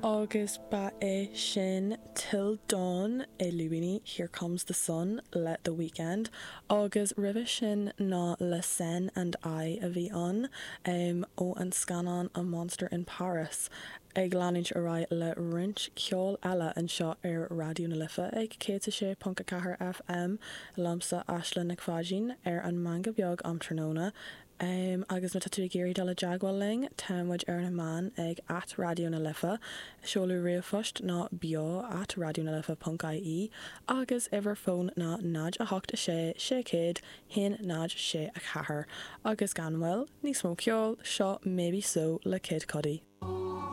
Agus ba é sin Till Dawn i lúibíní Here Comes the Sun le The Weeknd agus roimhe sin ná Le Sen and I a bhí ann ó an scannán A Monster in Paris. Ag leanúint ar aghaidh le roinnt ceoil eile anseo ar Raidió na Life ag 106.4 FM liomsa Aisling Nic Pháidín ar an Meangadh Beag um tráthnóna. Agus má tá tú ag iarraidh dul i dteagmháil linn, tá muid ar na meáin ag at Raidió na Life, seoladh ríomhphoist ná beo at raidionalife ponc ie agus uimhir fóin ná 0 8 6 600 1 0 6 4. Agus gan mhoill, níos mó ceoil, seo Maybe So le Kid Cudi.